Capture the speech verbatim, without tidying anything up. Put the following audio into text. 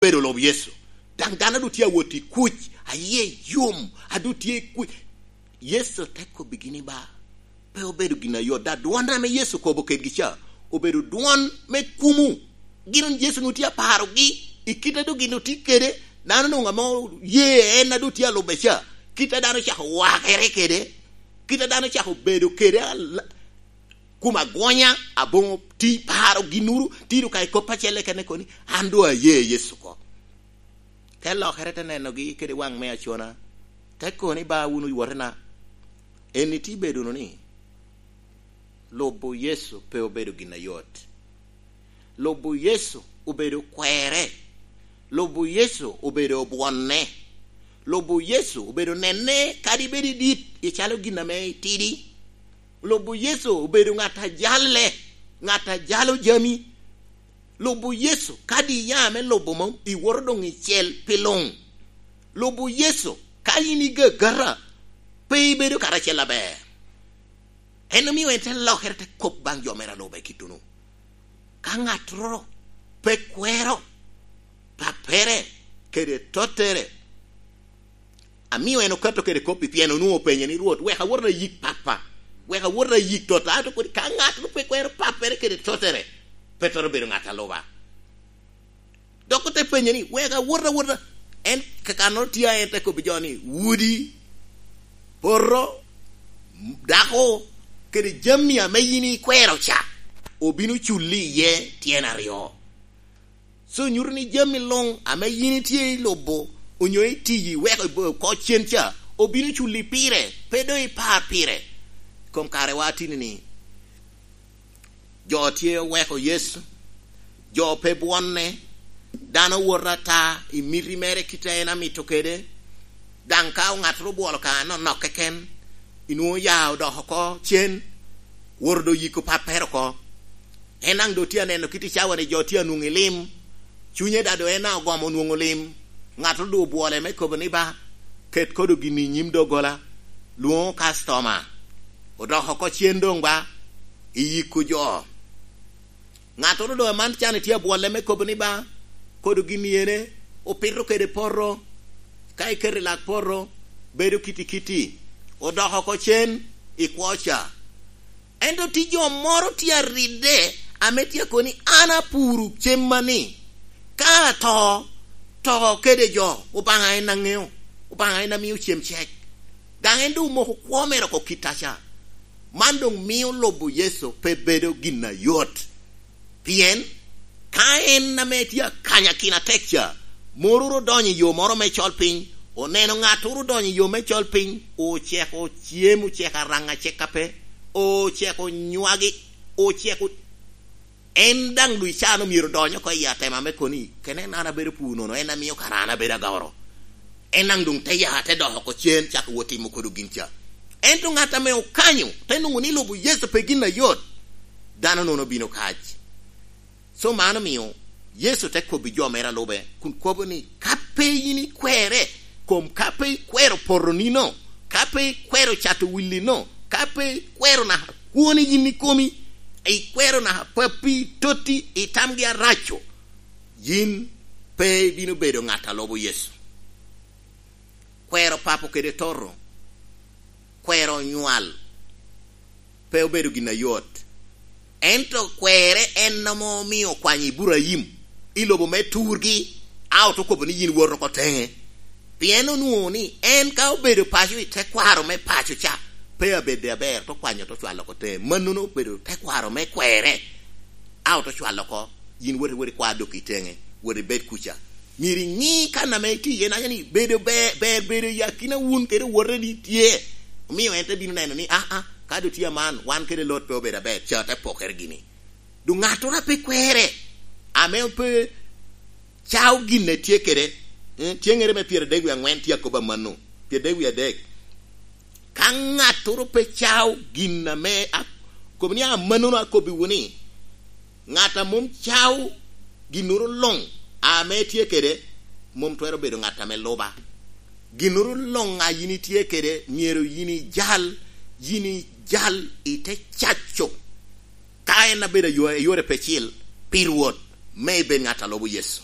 bedo lub Yecu. Daŋ dano a doŋ tye awot i kuc, aye yom, a doŋ tye i kuc. Yecu te kobbigi ni ba, pe obedo gin ayot, da dwon ame Yecu kobo kedgi ca, obedo dwon me kumo. Gin Yecu onwoŋo tye aparogi i kite a doŋ gin otye kede, dano onwoŋo ame oye en a doŋ tye alube ca, kite a dano ocako wakere kede, kite a dano ocako bedo kede, ala-, kom agonya, aboŋo ti paro ginnuru, tiro ka i kop acel kene koni, an doŋ aye Yecu oko. Te lokere te nenogi kede waŋ me acona, te kobo ni, "Ba wunu wotena." Eni ti bedo wunu ni, lubo Yecu pe obedo gin ayot. Lubo Yecu obedo kwere. Lubo Yecu obedo obwonne. Lubo Yecu obedo nenne kadi bed idit, icalo gin ame itidi. Lubo Yecu obedo ŋat a jalle, ŋat a jalo jami. Lubo Yecu, kadi iya me lubo mom, iwoto doŋ i cel pi luŋ. Lubo Yecu, ka in igagata, pe ibedo karacel aber. En omio en te lokere, te kop baŋ jo mere a lube kitunu. Ka ŋattoro pe kwero pappere kede tottere, amio en okato kede kop-pi, pien onwoŋo openye ni, "Rwot, wek awot ayik pappa, wek awot ayik totta." Ato kodi ka ŋattoro pe kwero pappere kede tottere, pe twero bedo ŋat a luba. Dok ote penye ni, "Wek awot awota." En kakannoro tye, en te kobbi jo ni, "Wudi, poto, dako, kede jami ame yin ikwero ca, obino culli iye tyen aryo." So nyuto ni jami luŋ ame yin itye i lubo onyo itiyi weko i bo-, oko cen ca, obino culli pire, pe doŋ ipar pire. Kom kare wa atini ni, jo tye oweko Yecu, jo pe bwonne, dano woto ata i miti mere kite a en amito kede, daŋ ka ŋattoro obwolo ka anonok keken, inwoŋo ya odok oko cen, woto doŋ yiko pappere oko. En daŋ doŋ tye aneno kit i cawa ni jo tye anwoŋo i lim, cunye daŋ doŋ en daŋ ogomo nwoŋo lim, ŋattoro doŋ obwole me kobo ni, "Ba, ket kodo gini i nyim doggola, lwoŋo kastoma." Odok oko cen doŋ ba, iyiko jo. Ŋattoro doŋ aman can itye abwolle me kobo ni, "Ba, kodo gin ene, opito kede poto, ka iketo i lak poto, bedo kiti kiti." Odok oko cen, ikwo ca. Ento tye jo moro tye aridde ame tye akobo ni, "An apuro cemma ni, ka ato, to kede jo, Obaŋa en aŋeo, Obaŋa en amio cem cek." Daŋ en doŋ omoko kwo mere oko kit aca. Man doŋ mio lubo Yecu pe bedo gin ayot. Pien ka en ame tye akanyakino atek ca, moro ru odonyo i yo moro me col piny, oneno ŋattoro odonyo i yo me col piny, oceko cem, oceko araŋ aceka pe, oceko nywagi, oceko, en daŋ dwe can omyero odony oko i atema me koni, "Kene en an abedo pur nono, en amio kara an abedo agoro." En daŋ doŋ te ya, te dok oko cen, cako wot timo kodo gin ca. Ento ŋat ame okanyo, te nwoŋo ni lubo Yecu pe gin ayot, dano nono bino kac. So man omio Yecu te kobbi jo mere a lube, kun kobo ni, "Ka pe yin ikwere, kom ka pe ikwero poto nino, ka pe ikwero cato willi no, ka pe ikwero naka kwoni yin ikomi, ikwero naka pappi, totti, itamgi araco, yin pe ibino bedo ŋat a lubo Yecu." Kwero papo kede toto, kwero onywal, pe obedo gin ayot. Ento kwerre en ame omio okwanyo Iburaim i lobo me turgi, a ote kobo ni, "Yin wot oko teŋe." Pien onwoŋo ni en ka obedo paco i tekwaro me paco ca, pe abedde aber, te okwanyo te ocwalo oko teŋe. Mannono obedo tekwaro me kwerre, a ote ocwalo oko, "Yin wot, wot ikwa dok i teŋe, wot ibed kuca." Myero iŋi kan ame itye iye, naca ni bedo ber, ber bedo i akina wun kede owoteni tye. Omio en te bino neno ni, "Aa, ka doŋ tye aman, wan kede Lot pe obedo aber, ca te pokere gini." Doŋ ŋattoro a pe kwerre, ame pe cao gin a tye kede, eh, tyeŋere me pyeradek wie aŋwen tye akobo amanno, pyeradek wie adek. Ka ŋattoro pe cao gin ame a-, kobo ni amannono akobbiwu ni, ŋat a mom cao ginnoro luŋ ame tye kede, mom twero bedo ŋat ame luba. Ginnoro luŋ a yin itye kede, myero yin ijal, yin ijal i te caco. Ka en abedo ayo-, ayore pe cil pi Rwot, me ibed ŋat a lubo Yecu.